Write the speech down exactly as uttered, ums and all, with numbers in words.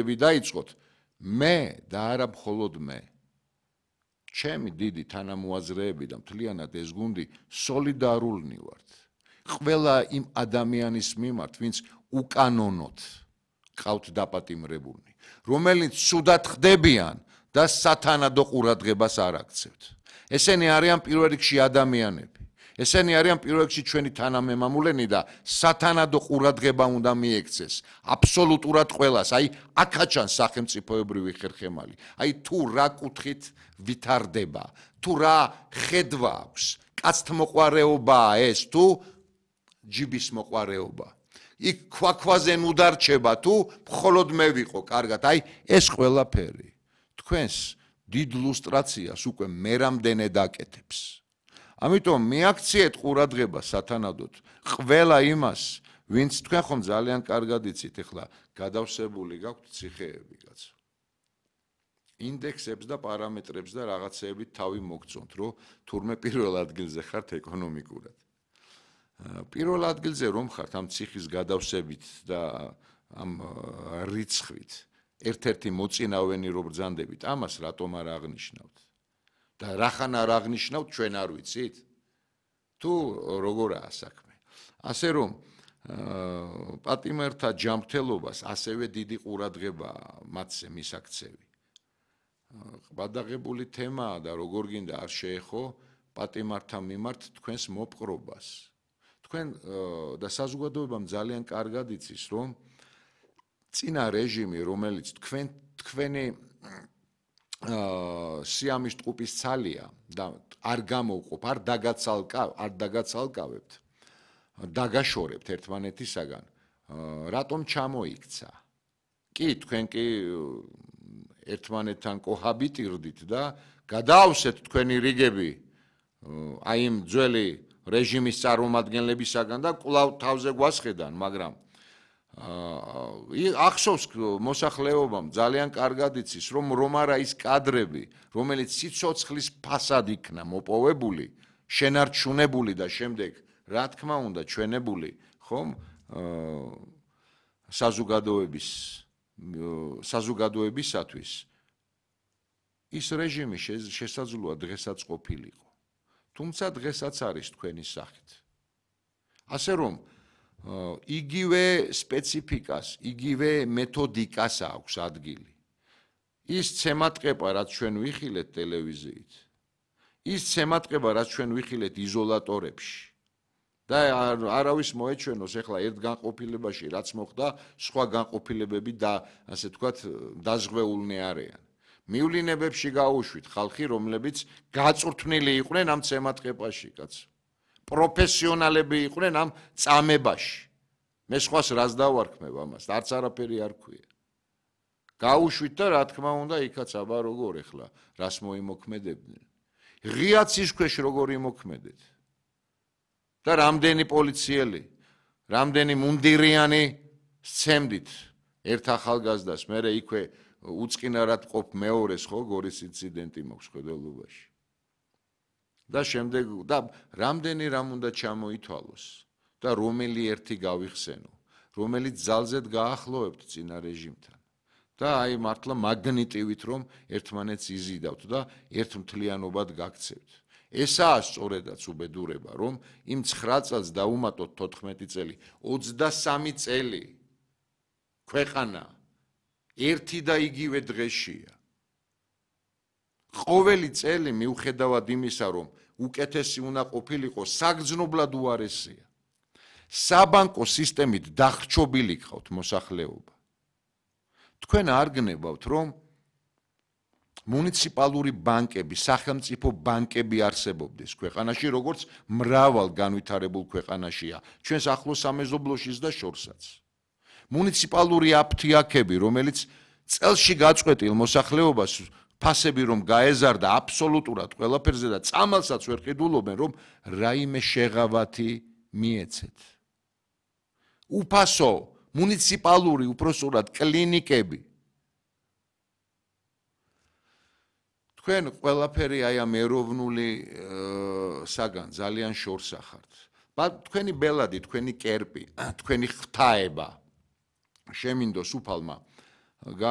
დაიწყოთ მე და არა მხოლოდ მე. ჩემი დიდი თანამოაზრეები და მთლიანად ეს გუნდი სოლიდარულნი ვართ. ყველა იმ ადამიანის მიმართ, ვინც უკანონოდ ყავთ დაპატიმრებულნი, რომელიც ცუდად ხდებიან და სათანადო ყურადღებას არ აქცევთ. ესენი არიან პირველ რიგში ადამიანები. ესენი არიან პირველ რიგში ჩვენი თანამემამულენი და სათანადო ყურადღება უნდა მიექცეს აბსოლუტურად ყველას, აი აქაჩან სახელმწიფოებრივი ხერხემალი. აი თუ რა კუთხით ვითარდება, თუ რა ხედვა აქვს, კაცთმოყვარეობაა ეს თუ ჯიბის მოყვარეობა. იქ ქვაქვაზე ნუ დარჩება თუ მხოლოდ მე ვიყო კარგად, აი ეს ყველაფერი თქვენს დიდ ლუსტრაციას უკვე მე რამდენე დაკეთებს. ამიტომ მიაქციეთ ყურადღება სათანადოდ ყველა იმას, ვინც თქვენ ხომ ძალიან კარგად იცით, ეხლა გადავსებული გაქვთ ციხეები, კაცო. ინდექსებს და პარამეტრებს და რაღაცეებით თავი მოგწონთ, რომ თურმე პირველ ადგილზე ხართ ეკონომიკურად. პირველ ადგილზე რომ ხართ ამ ციხის გადავსებით და ამ რიცხვით, ერთ-ერთი მოწინავენი რომ ბრძანდებით, ამას რატომ არ აღნიშნავთ? და რახან არ აღნიშნავთ, ჩვენ არ ვიცით? თუ როგორაა საქმე? ასე რომ პატიმართა ჯანმრთელობას ასევე დიდი ყურადღება მათზე მისაქცევი. ყბადაღებული თემაა და როგორ გინდა არ შეეხო პატიმართა მიმართ თქვენს მოპყრობას. თქვენ და საზოგადოებამ ძალიან კარგად იცის, რომ წინა რეჟიმი, რომელიც თქვენ თქვენი სიამის ტყუპის ცალია და არ გამოვყოფ, არ დაგაცალკავ, არ დაგაცალკავებთ, დაგაშორებთ ერთმანეთისაგან, რატომ ჩამოიქცა? კი, თქვენ კი ერთმანეთთან კოჰაბიტირდით და გადაავსეთ თქვენი რიგები აი იმ ძველი რეჟიმის წარმომადგენლებისაგან და კვლავ თავზე გვასხედან, მაგრამ ახსოვს მოსახლეობამ ძალიან კარგად იცის, რომ რომ არა ის კადრები, რომელიც სიცოცხლის ფასად იქნა მოპოვებული, შენარჩუნებული და შემდეგ რა თქმა უნდა ჩვენებული, ხომ საზოგადოების საზოგადოებისათვის ის რეჟიმი შესაძლოა დღესაც ყოფილიყო. თუმცა დღესაც არის თქვენი სახით. ასე რომ იგივე სპეციფიკას, იგივე მეთოდიკას აქვს ადგილი. ის ცემატყება, რაც ჩვენ ვიხილეთ ტელევიზიით, ის ცემატყება, რაც ჩვენ ვიხილეთ იზოლატორებში და არავის მოეჩვენოს ეხლა ერთ განყოფილებაში რაც მოხდა, სხვა განყოფილებები და ასე თქვათ დაზღვეულნი არიან. მივლინებებში გაუშვით ხალხი, რომლებიც გაწვრთნილი იყვნენ ამ ცემატყებაში, კაცო. პროფესიონალები იყვნენ ამ წამებაში. მე სხვას რას დავარქმევ ამას, არც არაფერი არ ქვია. გაუშვით და რა თქმა უნდა, იქაც აბა როგორ ეხლა, რას მოიმოქმედებდნენ. ღიაცის ქვეშ როგორ იმოქმედეთ. და რამდენი პოლიციელი, რამდენი მუნდირიანი სცემდით ერთ ახალგაზრდას, მერე იქვე უწყინარად ყოფ მეორეს ხო გორის ინციდენტი მოხს ხედელობაში. და შემდეგ და რამდენი რამ უნდა ჩამოითვალოს და რომელი ერთი გავიხსენო, რომელიც ძალზედ გაახლოვებთ წინა რეჟიმთან. და აი მართლა მაგნიტივით რომ ერთმანეთს იზიდავთ და ერთმთლიანობად გაქცევთ. ესაა სწორედაც უბედურება, რომ იმ ცხრა წელს დაუმატოთ თოთხმეტი წელი, ოცდასამი წელი ქვეყანა ერთი და იგივე დღეშია. ყოველი წელი მიუხედავად იმისა, რომ უკეთესი უნდა ყოფილიყო, საგრძნობლად უარესია. საბანკო სისტემით დახრჩობილი გყავთ მოსახლეობა. თქვენ არ გნებავთ, რომ მუნიციპალური ბანკები, სახელმწიფო ბანკები არსებობდეს ქვეყანაში, როგორც მრავალ განვითარებულ ქვეყანაშია, ჩვენს ახლო სამეზობლოშიც და შორსაც. მუნიციპალური აფთიაქები, რომელიც წელში გაწყვეტილ მოსახლეობას ფასები რომ გაეზარდა აბსოლუტურად ყველაფერზე და წამალსაც ვერ ყიდულობენ, რომ რაიმე შეღავათი მიეცეთ. უფასო, მუნიციპალური, უпроსტად კლინიკები. თქვენ ყველაფერი აი ამ ეროვნული საგან ძალიან შორს ახართ. თქვენი ბელადი, თქვენი კერპი, თქვენი ღვთაება შემინდოს უფალმა